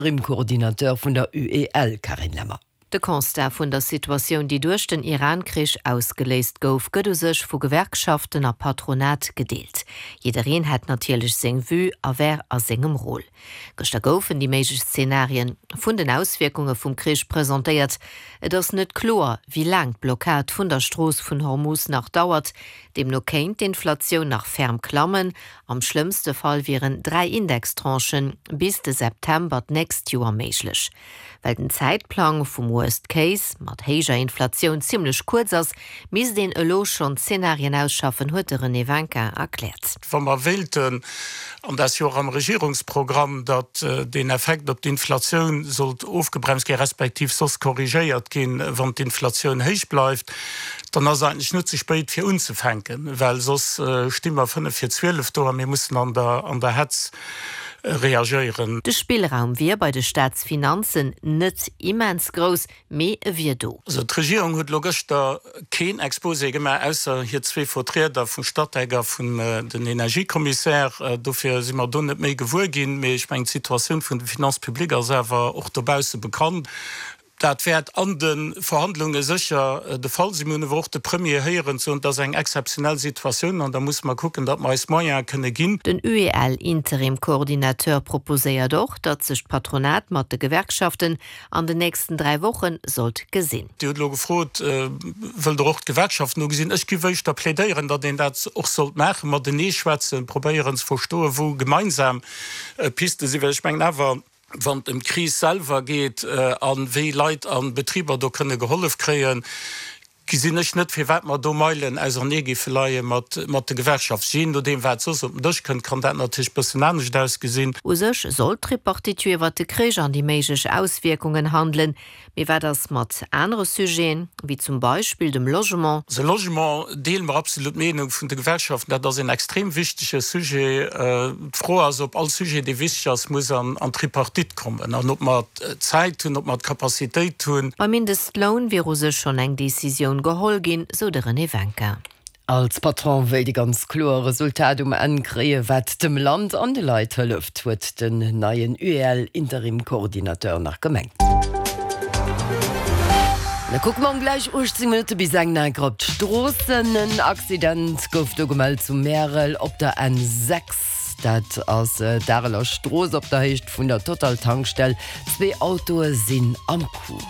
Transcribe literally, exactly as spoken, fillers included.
Interim-Coordinateur vun der UEL Carine Lemmer. De Constat vun der Situatioun, déi duerch den Iran-Krich ausgeléist gouf, gëtt u sech vu Gewerkschaften a Patronat gedeelt. Jiddereen hätt natierlech seng Vue a wär a sengem Rôle. Gëschter goufen déi méiglech Zenarien vun den Auswierkunge vum Krich presentéiert. Et ass net kloer, wéi laang d'Blockad vun der Strooss vun Hormus nach dauert. Deemno kéint d'Inflatioun nach ferm klammen. Am schlëmmste Fall wieren dräi Indextranchen bis de September d'nächst Joer méiglech. Well den Zäitplang vum Worst Case mat héijer Inflatioun zimmlech kuerz ass, misst een elo schonn Zenarien ausschaffen, huet de René Winkin erkläert. Wa mer wéilten, an dat ass jo och am Regierungsprogramm, datt deen Effekt op d'Inflatioun sollt ofgebremst ginn, respektiv soss korrigéiert ginn, wann d'Inflatioun héich bleift, dann ass et eigentlech net ze spéit fir unzefänken, well soss sti mer fënnef vir zwielef do a mir mussen an der Hetz reagéieren. De Spillraum wier bei de Staatsfinanzen net immens grouss, mee e wier do. Also d'Regierung huet elo gëschter keen Exposé gemaach, ausser hir zwee Vertrieder vum Statec a vun den Energiekommissär. Dofir si mer do net méi gewuer ginn. Mee ech mengen, d'Situatioun vun de Finances publiques ass awer och dobausse bekannt. Dat wäert an de Verhandlunge sécher de Fall sinn. Mir hunn awer och de Premier héieren soen, et ass eng exzeptionell Situatioun an da musse mer kucken, datt mer eis Moyene kënne ginn. Den UEL-Interim-Coordinateur proposéiert och, datt sech d'Patronat mat de Gewerkschaften an den nächsten dräi Woche sollt gesinn. Dir hutt elo gefrot, Wëllt Der och d'Gewerkschaften do gesinn? Ech géif éischter plädéieren, datt een dat och sollt maachen, matenee schwätzen, probéieren ze verstoen, wou gemeinsam Piste sinn, well ech mengen awer, wann et ëm d'Kris selwer geet a wéi Leit a Betriber do kënne gehollef kréien, gesinn ech net, firwat mer do Meilen ausernee géife leie mat de Gewerkschaften. Jee nodeem, wat soss op den Dësch kënnt, kann dat natierlech e bëssen anescht ausgesinn. U sech soll d'Tripartite jo iwwert de Krich an déi méiglech Auswierkungen handelen. Mee wat ass mat anere Sujeten, wéi zum Beispill dem Logement? Also Logement deele mer absolut d'Meenung vun de Gewerkschaften, dat ass een extrem wichtege Sujet. D'Fro ass, ob all Sujet, dee wichteg ass, muss an d'Tripartite kommen an ob mer d'Zäit hunn, ob mer d'Capacitéit hunn. Beim Mindestloun wier u sech schonn eng Decisioun geholl ginn, sou de René Winkin. Als Patron wéilt ee ganz kloer e Resultat um Enn kréien, wat dem Land an de Leit hëlleft, huet den neien UEL-Interim-Coordinateur nach gemengt. Da kucke mer um gläich uechtzéng Minutte bis eng enker op d'Stroossen. En Accident gouf do gemellt zu Märel op der N sechs. Dat ass d'Areler Strooss op der Héicht vun der Total-Tankstell. Zwee Autoe sinn am Coup.